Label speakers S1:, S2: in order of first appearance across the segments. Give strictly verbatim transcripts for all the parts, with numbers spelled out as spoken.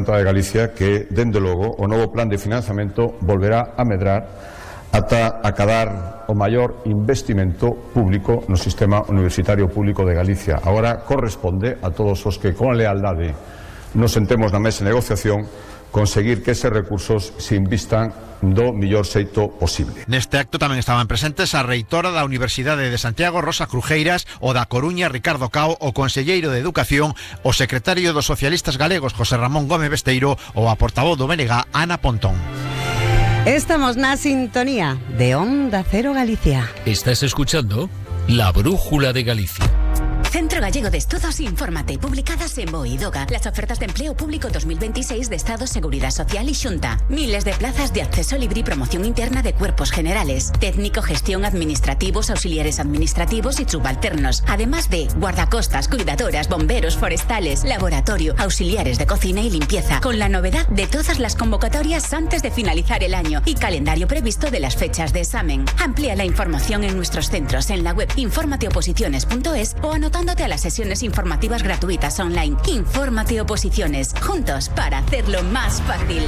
S1: Xunta de Galicia que, dende logo, o novo plan de financiamento volverá a medrar ata acadar o maior investimento público no sistema universitario público de Galicia. Agora corresponde a todos os que con lealdade nos sentemos na mesa de negociación conseguir que eses recursos se invistan do mellor xeito posible.
S2: Neste acto tamén estaban presentes a reitora da Universidade de Santiago, Rosa Crujeiras, o da Coruña, Ricardo Cao, o conselleiro de Educación, o secretario dos socialistas galegos, José Ramón Gómez Besteiro, ou a portavoz do B N G, Ana Pontón.
S3: Estamos na sintonía de Onda Cero Galicia.
S4: Estás escuchando La Brújula de Galicia.
S5: Centro Gallego de Estudos Infórmate, publicadas en BOE y DOGA. Las ofertas de empleo público dos mil veintiséis de Estado, Seguridad Social y Xunta. Miles de plazas de acceso libre y promoción interna de cuerpos generales, técnico, gestión, administrativos, auxiliares administrativos y subalternos. Además de guardacostas, cuidadoras, bomberos, forestales, laboratorio, auxiliares de cocina y limpieza. Con la novedad de todas las convocatorias antes de finalizar el año y calendario previsto de las fechas de examen. Amplía la información en nuestros centros en la web informateoposiciones punto es o anotando a las sesiones informativas gratuitas online. Infórmate Oposiciones, juntos para hacerlo más fácil.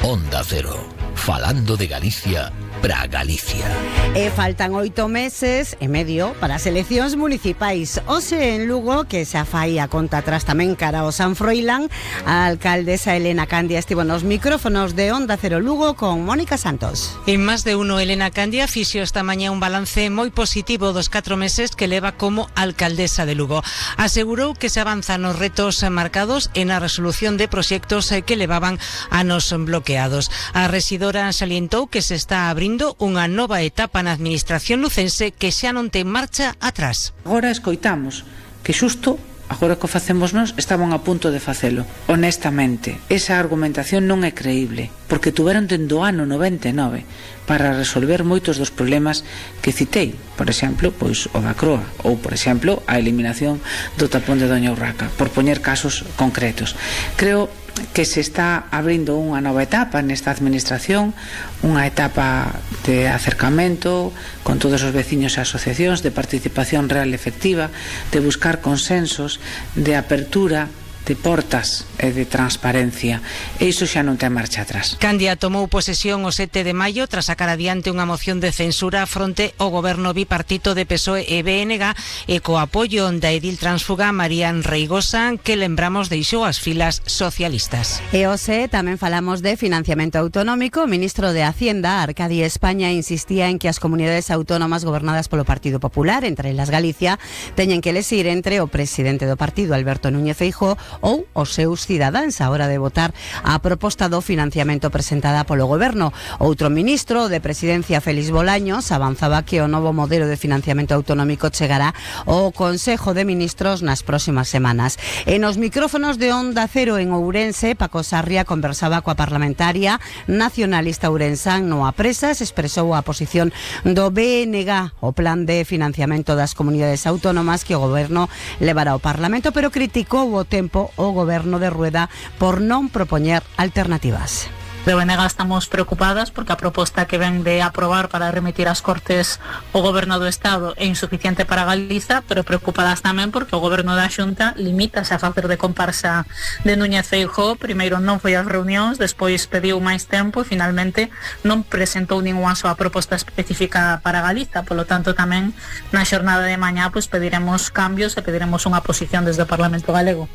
S4: Onda Cero, falando de Galicia para Galicia.
S3: E faltan oito meses e medio para as eleccións municipais. Hoxe en Lugo, que xa fai a conta atrás tamén cara ao San Froilán, a alcaldesa Elena Candia estivo nos micrófonos de Onda Cero Lugo con Mónica Santos.
S6: En Más de Uno, Elena Candia fixo esta mañá un balance moi positivo dos catro meses que leva como alcaldesa de Lugo. Asegurou que se avanza nos retos marcados e na resolución de proxectos que levaban anos bloqueados. A rexidora salientou que se está abrindo unha nova etapa na administración lucense que xa non ten marcha atrás.
S7: Agora escoitamos que xusto agora que o facemos nós estaban a punto de facelo. Honestamente, esa argumentación non é creíble, porque tuveron dende o ano noventa e nove para resolver moitos dos problemas que citei, por exemplo, pois o da Croa, ou por exemplo, a eliminación do tapón de Doña Urraca, por poñer casos concretos. Creo que se está abrindo unha nova etapa nesta administración, unha etapa de acercamento con todos os veciños e asociacións, de participación real e efectiva, de buscar consensos, de apertura, de portas e de transparencia, e iso xa non ten marcha atrás.
S6: Candia tomou posesión o sete de maio tras sacar adiante unha moción de censura fronte ao goberno bipartito de P S O E e B N G e co apoio da edil transfuga Marían Reigosa, que lembramos deixou as filas socialistas.
S3: E hoxe tamén falamos de financiamento autonómico. O ministro de Hacienda, Arcadi España, insistía en que as comunidades autónomas gobernadas polo Partido Popular, entre elas Galicia, teñen que elegir entre o presidente do partido, Alberto Núñez Feijóo, ou os seus cidadáns a hora de votar a proposta do financiamento presentada polo goberno. Outro ministro de Presidencia, Félix Bolaños, avanzaba que o novo modelo de financiamento autonómico chegará ao Consejo de Ministros nas próximas semanas. E nos micrófonos de Onda Cero en Ourense, Paco Sarria conversaba coa parlamentaria nacionalista ourensán Noa Presas, expresou a posición do B N G, o plan de financiamento das comunidades autónomas que o goberno levará ao Parlamento, pero criticou o tempo o goberno de Rueda por non propoñer alternativas.
S8: De O N G estamos preocupadas porque a proposta que ven de aprobar para remitir ás Cortes o Goberno do Estado é insuficiente para Galiza, pero preocupadas tamén porque o Goberno da Xunta limítase a facer de comparsa de Núñez Feijóo. Primeiro non foi ás reunións, despois pediu máis tempo e finalmente non presentou ningunha soa proposta específica para Galiza. Polo tanto, tamén na xornada de mañá pois pediremos cambios e pediremos unha posición desde o Parlamento Galego.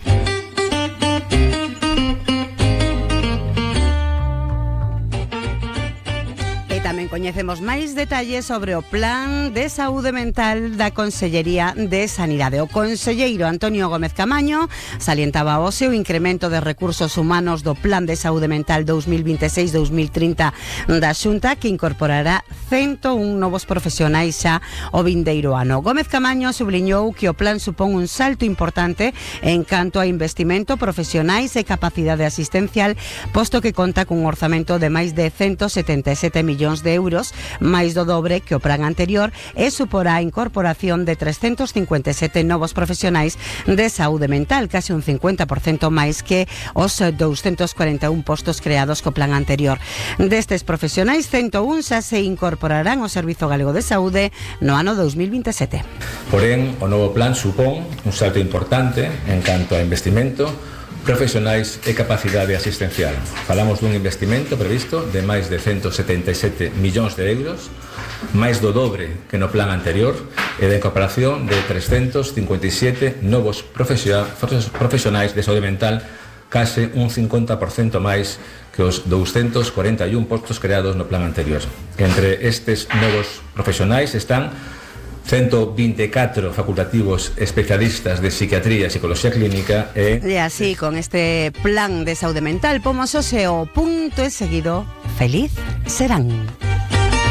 S3: Tamén coñecemos máis detalles sobre o plan de saúde mental da Consellería de Sanidade. O conselleiro Antonio Gómez Camaño salientaba hoxe o incremento de recursos humanos do plan de saúde mental dos mil vinte e seis dos mil trinta da Xunta, que incorporará ciento un novos profesionais xa o vindeiro ano. Gómez Camaño subliñou que o plan supón un salto importante en canto a investimento, profesionais e capacidade asistencial, posto que conta cun orzamento de máis de ciento setenta e sete millóns de euros euros, máis do dobre que o plan anterior, e suporá a incorporación de trescentos cincuenta e sete novos profesionais de saúde mental, case un cincuenta por cento máis que os doscientos cuarenta e un postos creados co plan anterior. Destes profesionais, ciento un xa se incorporarán ao Servizo Galego de Saúde no ano dous mil vinte e sete.
S9: Porén, o novo plan supón un salto importante en canto a investimento, profesionais e capacidade asistencial. Falamos dun investimento previsto de máis de ciento setenta e sete millóns de euros, máis do dobre que no plan anterior, e da incorporación de trescentos cincuenta e sete novos profesionais de saúde mental, case un cincuenta por cento máis que os doscientos cuarenta e un postos creados no plan anterior. Entre estes novos profesionais están ciento vinte e catro facultativos especialistas de psiquiatría e psicología clínica e...
S3: E así, con este plan de saúde mental, pomos hoxe o punto e seguido, feliz serán.